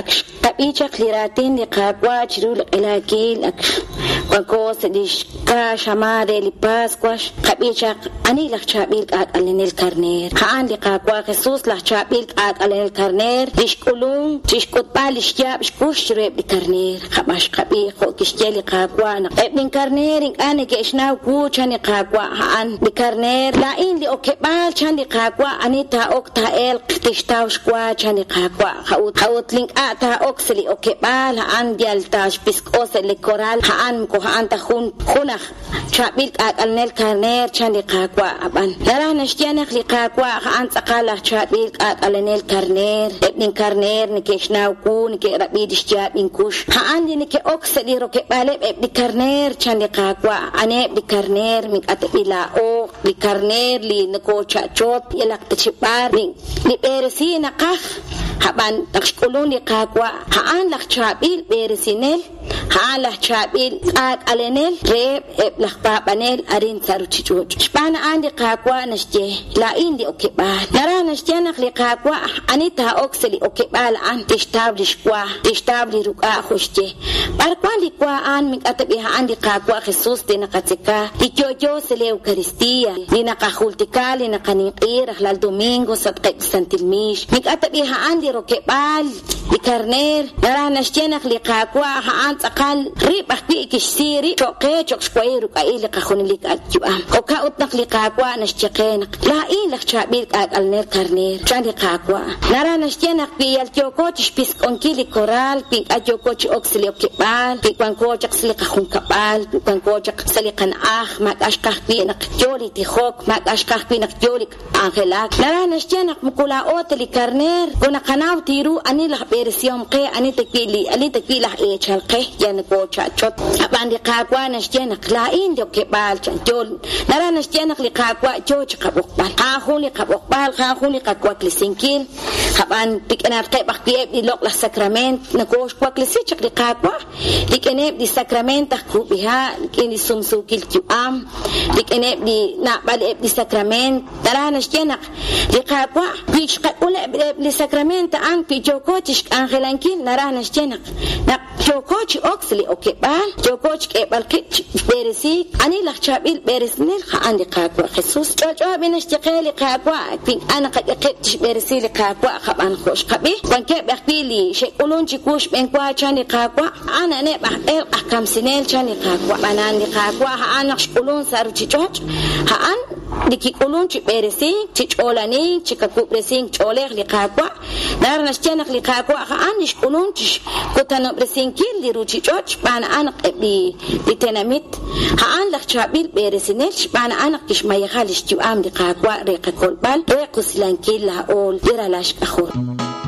Ak xqab'i chaq li raatin li Qaawa' chiru li q'elaakil, ak wanko sa' li xkaa xamaan re li Paswa, xqab'i chaq ani laj chaab'il k'aak'alenel karneer. A'an li Qaawa' Jesus, laj chaab'il k'aak'alenel karneer, li xk'ulunk chi xk'utb'al li xyaab' xkux chiruheb' li karneer. Ab'an xqab'i jo' kixye li Qaawa' naq eb' linkarneer ink'a' neke'xnaw wu, chan li Qaawa'. A'an li karneer, laa'in li okeb'aal, chan li Qaawa', ani taa'ok taa'elq tixtaw xwa, chan li Qaawa'. A'ut li ink'a' taa'ok sa' li okeb'aal, a'an yal taaxpisk'o sa' li koral, a'an moko a'an ta jun jun aj chaab'il k'aak'alenel karneer, chan li Qaawa'. Ab'an naraj naxye naq li Qaawa' a'an tz'aqal aj chaab'il k'aak'alenel karneer. Eb' linkarneer neke'xnaw wu, neke'rab'i li xyaab' inkux. A'an li neke'ok sa' li rokeb'aaleb' eb' li karneer, chan li Qaawa'. Aniheb' li karneer? Ink'a' tab'i' laa'o li karneer li nokoocha'chot yalaq ta chi b'ar li b'eresiik naqaj. Ab'an naq xk'ulunk li Qaawa', a'an laj chaab'il b'eresinel. A'an laj chaab'il k'aak'alenel reheb' eb' laj paab'anel arin sa' ruuchich'och'. Xb'aan a'an li Qaawa' naxye, Laa'in li okeb'aal. Naraj naxye naq li Qaawa' ani taa'ok sa' li okeb'aal a'an tixtaw li xwa, tixtaw li ruk'a' jo' xye. B'ar wank li wa a'an? Ink'a' tab'i' a'an li Qaawa' Jesus li naqatzeka, li yo'yo sa' li Eucaristía, li naqajultika, li naqaninq'i rajlal domingo sa'atqeb' li santil miix. Ink'a' tab'i' a'an li rokeb'aal Li karneer naraj naxye naq li Qaawa' a'an tz'aqal rib' ajwi' kixsi rib' cho'q qe cho'q xwahil ruk'a'il li qajunelik ak' yu'am. Jo'kan ut naq li Qaawa' naxye qe naq, Laa'in laj chaab'il k'aak'alenel karneer, chan li Qaawa'. Naraj naxye naq wi yal yooko chi xpisk'onkil li koral, wi ink'a' yooko chi ok sa' li okeb'aal, wi wanko chaq sa' li qajunkab'al, wi wanko chaq sa' li qana'aj, maak'a' xqaj wi' naq yoo li tijok, maak'a' xqaj wi' naq yoo li. K'anjelak. Naraj naxye naq moko laa'o ta li karneer, moko naqanaw ta ru ani laj b'eresihom qe, ani ta wi' li ani ta wi' laj eechal qe, yal nokoocha'chot. Ab'an li Qaawa' naxye naq laa'in li okeb'aal chan yo. Naraj naxye naq li Qaawa' yoo chi qab'oqb'al. A'an jun li qab'oqb'al, a'an jun li qawaklesinkil. Ab'an rik'inatqeb' ajwi' eb' li loq'laj sakrament nokooxwaklesi chaq li Qaawa'. Rik'ineb' li sakrament aj kub'iha', rik'in li sumsuukil yu'am, rik'ineb' li naab'al eb' li sakrament, naraj naxye naq li Qaawa' wi xqak'ul eb' li sakrament a'an, wi yooko chixk'anjelankil, naraj naxye naq naq yooko chi ok sa' li okeb'aal, yooko chik'eeb'al qib' chi b'eresiik. Ani laj chaab'il b'eresinel? A'an li Qaawa' Jesus. Ch'olch'o b'i naxye qe li Qaawa', wi ink'a' naqak'e qib' chixb'eresi li Qaawa', ab'an jo' xqab'i, wankeb' ajwi' li xe'k'ulunk chiwu xb'enwa, chan li Qaawa', a'an a'aneb' aj elq' aj kamsinel, chan li Qaawa'. Ab'anan li Qaawa' a'an naq xk'ulunk sa' ruuchich'och', a'an li kik'ulunk chi b'eresink, chi ch'oolanink, chi kawub'resink ch'oolej li Qaawa'. Naraj naxye naq li Qaawa' a'an li xk'ulunk chi xkutanob'resinkil li ruuchich'och' xb'aan a'an naq eb' li tenamit a'an laj chaab'il b'eresinel xb'aan a'an naq kixmayeja li xyu'am li Qaawa' re qakolb'al, re qusilankil laa'o li ralal xk'ajol.